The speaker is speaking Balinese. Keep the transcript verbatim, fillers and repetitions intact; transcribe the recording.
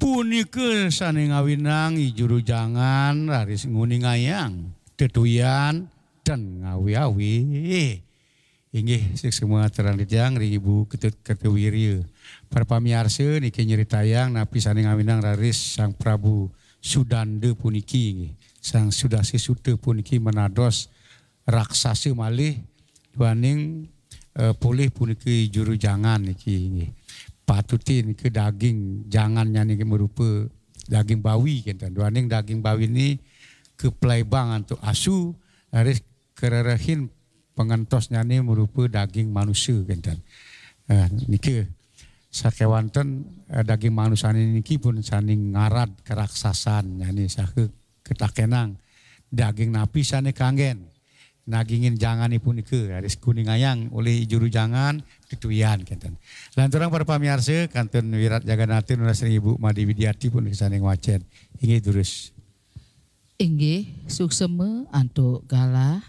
Punika sane ngawinang I Juru Jangan raris nguningayang tetuyan ten ngawi-awi. Inggih, suksma aturang titiang ring Ibu Ketut Kertawirya. Para pamiarsa, niki nyritayang napi sane ngawinang raris Sang Prabu Sudanda puniki, nggih. Sang Sudasa Suta puniki menados raksasa malih, duaning, eh, polih punika Juru Jangan niki, nggih. Patutin ke daging jangannya niki merupa daging bawi kenten. Duaning daging bawi ni keplaibang antuk asu, raris kererehin pangentosnyane merupa daging manusa kenten. Eh, nika sakewanten, eh, daging manusane niki pun sane ngarad karaksasannyane saha ketakenang, daging napi sane kanggen nagingin jangane punika, raris kuningayang olih Juru Jangan tetuyan kenten. Lanturang para pamiarsa, kantun wirat jagannata nunas ring Ibu Made Widiati punika sane ngwacen. Inggih durus. Inggih, suksma antuk galah